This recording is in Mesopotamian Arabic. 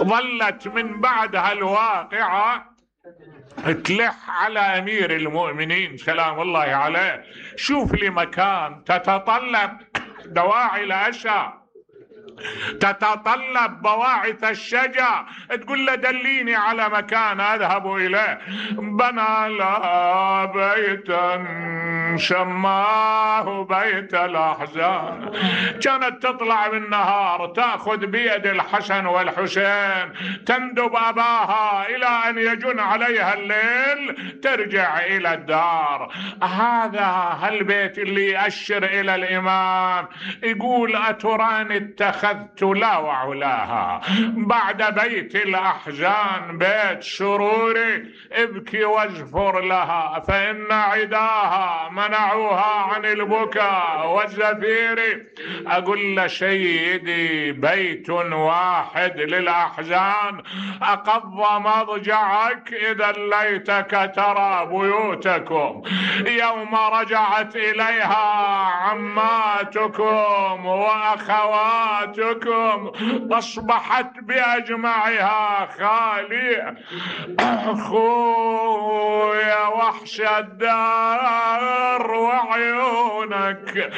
ظلت من بعد هالواقعة تلح على أمير المؤمنين سلام الله عليه: شوف لي مكان تتطلب دواعي العشاء، تتطلب بواعث الشجع، تقول له دليني على مكان أذهب إليه. بنى لها بيتا سماه بيت الأحزان. كانت تطلع بالنهار تأخذ بيد الحسن والحسين تندب أباها إلى أن يجن عليها الليل ترجع إلى الدار. هذا البيت اللي يأشر إلى الإمام، يقول: أتراني اتخذت لا وعلاها بعد بيت الأحزان بيت سروري، ابكي وازفر لها فإن عداها منعوها عن البكاء والزفير. أقول لسيدي: بيت واحد للأحزان أقض مضجعك، إذا ليتك ترى بيوتكم يوم رجعت إليها عماتكم وأخواتكم أصبحت بأجمعها خالية. أخويا وحش الدار وعيونك